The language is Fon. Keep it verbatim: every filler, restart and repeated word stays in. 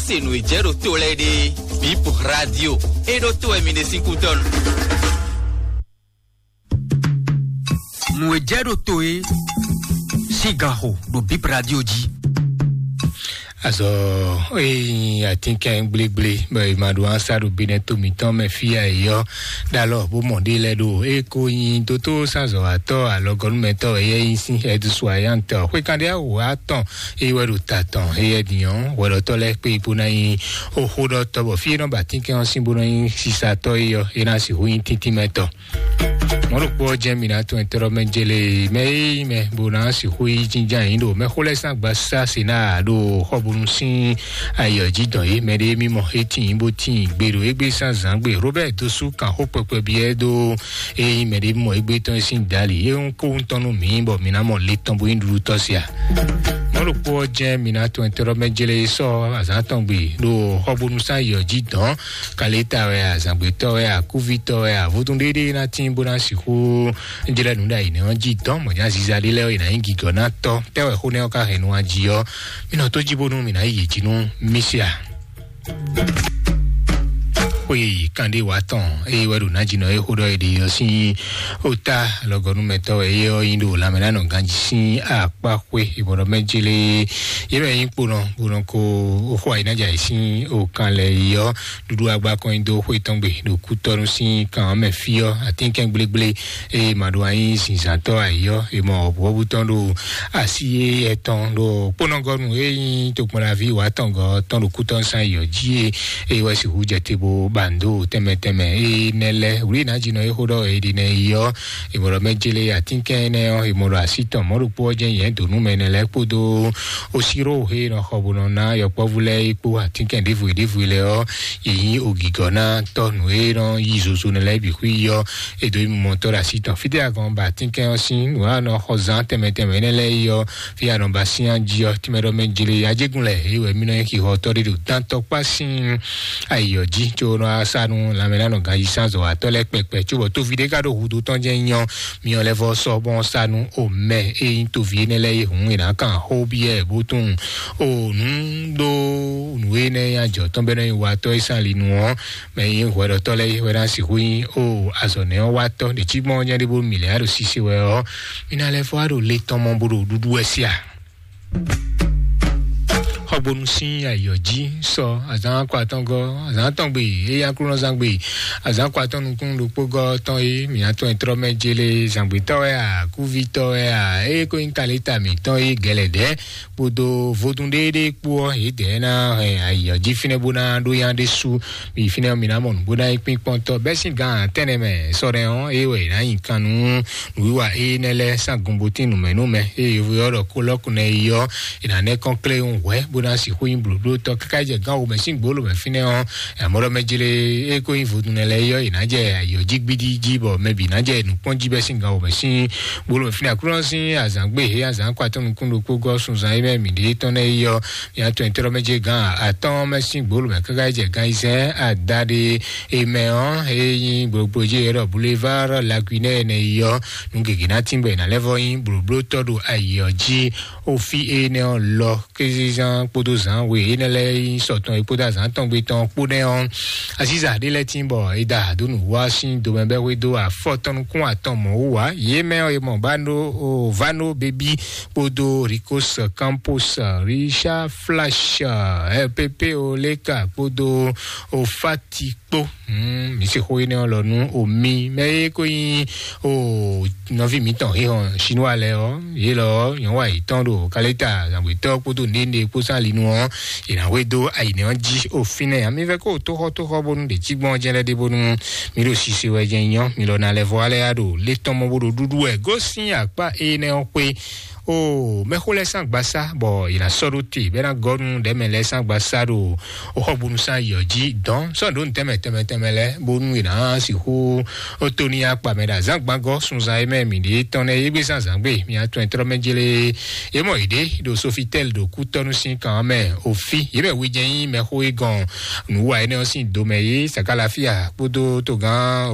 Se nǔ e jɛ ɖo to lɛ́ɛ ɖe, Bip Radio, e ɖo to wɛ mi ɖe sín kútɔ́nu. Nǔ e jɛ ɖo to e sín gan xo ɖo Bip Radio jí. Azɔ, eyi atínkɛn gblégblégbé bɔ è ma ɖo ansa ɖo binɛ to mǐtɔn mɛ fí a, è yɔ ɖalɔ bó mɔ ɖé lɛ́ɛ ɖo. E ko nyi dótó sazɔwatɔ alɔgɔnúmɛtɔ, eyɛ nyi sín ɛdúsú ayantɔ xwékanɖé awo atɔn, eye wɛ ɖo ta tɔn, eyɛ dǐnyɔ́n hwɛɖɔtɔ́ lɛ́ɛ kpé bó ná nyí oxóɖɔtɔ́, bɔ fí e nɔ ba tínkɛn ɔ́ sín bó nɔ nyí sisatɔ́ é ɔ́, é ná sixú nyí tíntímɛtɔ́. Mɔ̌ ɖokpó ɔ́ jɛ́n mǐ ná tún ɛtɛ́ɖɔ́ mɛ jélé mɛ e nyí mɛ bó ná sixú yí jínjɔ́n ayǐ ɖo mɛxó lɛ́ɛ sín agbasá se ná ɖo xɔbunu sín ayǐ ɔ́ jí dɔn é. Mɛ ɖé mímɔ é tíin bó tíin gbe ɖo égbé sín azǎn gbe. Robert dó sú kan xó kpɛkpɛ byɔ́ dó e nyí mɛ ɖé mímɔ égbé tɔn sín dali é ń kó ŋutɔ́ nú mǐ bɔ mǐ ná mɔ le tɔn bó nyí ɖuɖu tɔ́ se a. Mɔ̌ ɖokpó ɔ́ jɛ́n mǐ ná tɔn tɛ́ɖɔ́ mɛ jélé sɔ́ azǎn tɔn gbe ɖo xɔbonu sín ayǐ ɔ́ jí dɔn. Kaléta wɛ a, zǎngbétɔ́ wɛ a, kúvítɔ́ wɛ a, vodún ɖéɖé ná tín bó ná sixú jlɛ́ nǔ ɖo ayǐ nɛ́ ɔ́ jí dɔn mɔ̌ nya ziza ɖé lɛ́ɛ ɔ́, è nǎ nyí gǐgɔ́ ná tɔ́. Tɛ́ wɛ xó nɛ́ ɔ́ ka hɛn nú a jí ɔ́, mí nɔ tó jí bónú mǐ ná yi yě jí nú mí se a? Xwe kanɖé wǎ tɔn eye wɛ ɖo nǎjínɔ e xó ɖɔ è ɖe ɔ́ sín ota lɔgɔnúmɛtɔ́ wɛ é ɔ́ nyí ɖo lanmɛnánɔ ganjí sín akpá xwe ìbɔnɔ mɛ jélé. Yě mɛ nyí kponɔ bó nɔ ko xó ayǐnájà yě sín okan lɛ yi ɔ́, ɖuɖu agba kɔn nyi dó xwé tɔn gbe ɖo kútɔ́nú sín kan ɔ́ mɛ fí ɔ́, atínkɛn gblégblégbé eye ma ɖo anyi zǐnzǎntɔ́ ayǐ ɔ́, è mɔ wɔ̌buwɔ́bú tɔn ɖo así éyɛ́ tɔn ɖo kpónɔgɔ́nu e nyí tokpɔnlaví wǎtɔngɔ́ tɔn ɖo kútɔ́nsán yɔ̌ jí e, eye wɛ sixú jɛ te bó ba nǔ dó tɛnmɛ tɛnmɛ. Eye nɛ lɛ́ɛ wlǐ nǎjínɔ e xó ɖɔ è ɖi nɛ yi ɔ́, è mɔ ɖɔ mɛ jélé atínkɛn énɛ́ ɔ́, è mɔ ɖɔ así tɔn mɔ̌ ɖokpó ɔ́ jɛ́n nyɛ̌ dǒ nú mɛ énɛ́ lɛ́ɛ kpódó osíɖó he nɔ xɔ bó nɔ ná yɔkpɔ́vú lɛ́ɛ é kpó atínkɛn ɖěvo e ɖěvo e lɛ́ɛ ɔ́, yě nyí ogǐgɔ́ ná tɔ́ nǔ e nɔ yí zozo nɛ lɛ́ɛ bǐ xwí ɔ́, è dǒ yi mɔmɔtɔ́ ɖo así tɔn. Fítɛ́ a gɔn ba atínkɛn ɔ́ sín nǔ e nɔ xɔ zán tɛnmɛ tɛnmɛ énɛ́ lɛ́ɛ yi ɔ́, fí a nɔ ba sín jí ɔ́, tínmɛ ɖɔ mɛ jlé ajégún lɛ é wɛ mí nɔ nyí xixɔtɔ́ ɖé ɖo dán tɔkpá sín ayǐ ɔ́ jí, có nɔ sa nú lanmɛnánɔ ganjí sán zɔ̌watɔ́ lɛ́ɛ kpɛkpɛ, cóbɔ tóví ɖé ka ɖo húdú tɔn jɛ́n nyɔ́, myɔ lɛ́ vɔ sɔ́ bɔn sa nú omɛ e nyí tóví énɛ́ lɛ́ɛ é hǔn è nǎ kan xó byɔ́ ɛ bó tunwun o nǔ ɖó nǔ énɛ́ e ajɔ tɔn bɛ́ nɔ nyi watɔ́ e sán ali nu ɔ́, mɛ e nyí hwɛɖɔtɔ́ lɛ́ɛ é wɛ ná sixú nyí o azɔ̌ nɛ́ ɔ́ watɔ́ ɖě cí gbɔn nyɛ ɖé bó mi lɛ́ ɖo sise wɛ ɔ́, mi ná lɛ́ fɔ wá ɖo le tɔn mɔ bó ɖo ɖuɖu wɛ sí a? Xɔgbonu sín ayǐ ɔ́ jí sɔ azǎn akɔ atɔ́ngɔ́, azǎn atɔ́ngbe, eye aklúnɔzán gbe, azǎn akɔ atɔ́ nukún ɖokpó gɔ́ tɔn é, mǐ ná tɔn ɛ trɔ́ mɛ jélé, zǎngbétɔ́ wɛ a, kúvítɔ́ wɛ a, eye ko nyí kaléta mǐtɔn é gɛlɛdɛ̌, kpódó vodún ɖééɖéé kpó ɔ́, yědɛɛ ná hɛn ayǐ ɔ́ jí fínɛ́ bó ná ɖó yá ɖésú. Mi fínɛ́ ɔ́, mi ná mɔ nǔgbó ná nyí kpínkpɔ́ntɔ́ bɛ́ sín gan tɛ́nɛ mɛ sɔ́ nɛ́ ɔ́, é wɛ è nǎ nyi kan nú nǔwiwa énɛ́ lɛ́ɛ sín agunbotín nǔmɛnú mɛ, eye yovo ɔ́ ɖɔ kólɔ́kúnɛ yi ɔ́, è nǎ nɛ́ kɔn klé hwɛ̌ bó ná sixú nyí blǒblótɔ́ káká jɛ gán womɛ sín gbǒlǒ mɛ fínɛ́ ɔ́, amɔ̌ ɖɔ mɛ jlé é ko nyí vodúnnɛ lɛ́ɛ é ɔ́, è nǎ jɛ ayǐ ɔ́ jí gbídí jí, bɔ mɛ bǐ ná jɛ nǔkpɔ́n jí bɛ́ sín gan womɛ sín gbólóhùn fínɛ́. Aklúnɔ sín azǎn gbé hé azǎn kɔ atɔ́ nukún ɖokpó gɔ́ sunzan e mɛ mǐ ɖe tɔn lɛ́ɛ yi ɔ́, mǐ atɔn e tlɔ́ mɛ jɛ gán atɔ́ɔ́n mɛ sín gbólóhùn mɛ káká jɛ gán ayizɛ́n adaɖé e mɛ ɔ́, e nyí gblogblo jí e ɖɔ Boulevard Laguinée nɛ yi ɔ́, nǔ gěgé ná tín bɔ è nǎ lɛ́ vɔ nyí blǒblótɔ́ ɖo ayǐ ɔ́ jí. Ofi énɛ́ ɔ́ lɔ kézezán kpódó zǎn we énɛ́ lɛ́ɛ nyí sɔ tɔn e kpódó azǎn tɔn gbe tɔn kpó nɛ́ ɔ́, azíza ɖé lɛ́ɛ tín bɔ è da dǒ nǔ wá sín domɛ bɛ́ xwedó afɔtɔn nukún atɔn mɔ̌ wú ǎ. Yě mɛ ɔ́, è mɔ Bano, o, Vano Baby kpódó Ricos Campos, Richard Flash, L P P Oleka kpódó o Fati kpó. Hmm, mǐ sixú énɛ́ ɔ́ lɔ nú o mi mɛ e ko nyí o nɔví mǐtɔn híhɔn Sinúa lɛ́ɛ ɔ́, yě lɔ ɔ́, nyɔ̌nu ayǐtɔn ɖo kaléta zǎngbětɔ́ kpódó nɖénɖé kpó sín ali nu ɔ́, yě ná hwedó ayǐnɛ ɔ́ jí o fínɛ́. Amivɛ́ kó tóxɔ́tóxɔ́ bónú ɖě cí gbɔn jɛ́n lɛ́ɛ ɖé bónú mǐ ɖo sise wɛ jɛ́n nyɔ́, mi lɔ ná lɛ́ vɔ alɛ ya ɖo lé tɔn mɔ bó ɖo ɖuɖu wɛ gosín akpá énɛ́ ɔ́ xwé. O mɛxó lɛ́ɛ sín agbasá bɔ yě ná sɔ́ ɖó te bɛ́ ná gɔ́ nú ɖɛ̌mɛ lɛ́ɛ sín agbasá ɖo o xɔgbonu sín ayǐ ɔ́ jí dɔn sɔ́ ɖó nǔ tɛnmɛ tɛnmɛ tɛnmɛ lɛ́ɛ bónú yě ná sixú ó tó ní akpa mɛ ɖo azǎngbángɔ́ sunzan e mɛ mǐ ɖe tɔn nɛ́ é gbé sín azǎn gbe. Mi atɔn e tlɔ́ mɛ jlé yě mɔ yě ɖě ɖo Sofitɛ́li ɖo kútɔ́nú sín kan ɔ́ mɛ. Ofi yě mɛ wejɛ́n nyí mɛxó e gɔn nǔwa énɛ́ ɔ́ sín domɛ yé Sakalafia kpódó togán